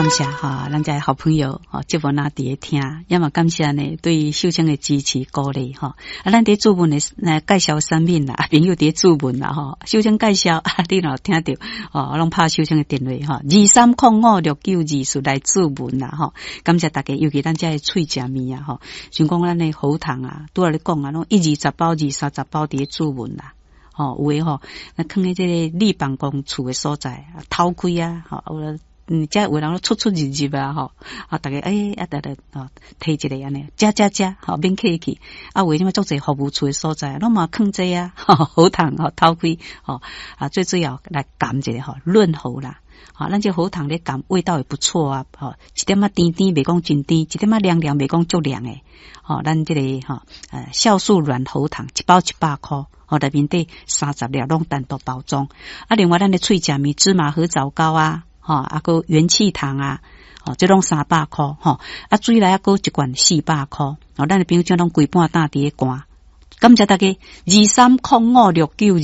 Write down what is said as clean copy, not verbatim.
感謝哈，咱遮好朋友吼，節目若佇咧聽，也嘛感謝呢對秀清的支持鼓勵吼。啊，咱佇註文的來介紹產品啦，朋友佇咧註文啦吼，秀清介紹啊，你若有聽著吼，攏拍秀清的電話吼，23056924來註文啦吼。感謝大家，尤其咱遮的喙食麵啊吼，像講咱的喉糖啊，拄仔咧講啊，攏一二十包、二三十包佇咧註文啦。吼，有的吼，那囥佇這个麗辦公處的所在，偷開啊，吼，有遮有人出出入入啊，吼，啊，逐家欸，啊，逐家吼，提一个按呢，食食食，吼，免客氣。啊，有的啥物足濟服務處的所在，攏嘛囥這啊，喉糖吼，偷開，吼，啊，最主要來含一下吼，潤喉啦。吼，咱這喉糖咧含味道也不錯啊，吼，一點仔甜甜，袂講真甜，一點仔涼涼，袂講足涼的。吼，咱這個吼，酵素軟喉糖一包100箍。吼，內面底30粒攏單獨包裝。啊，另外咱的喙食麵芝麻核棗糕啊，吼，啊，閣元氣糖啊，吼，這攏300箍，吼。啊，水來啊，閣一罐400箍。吼，咱的朋友攏規半晝佇咧寒。感謝大家，23056924。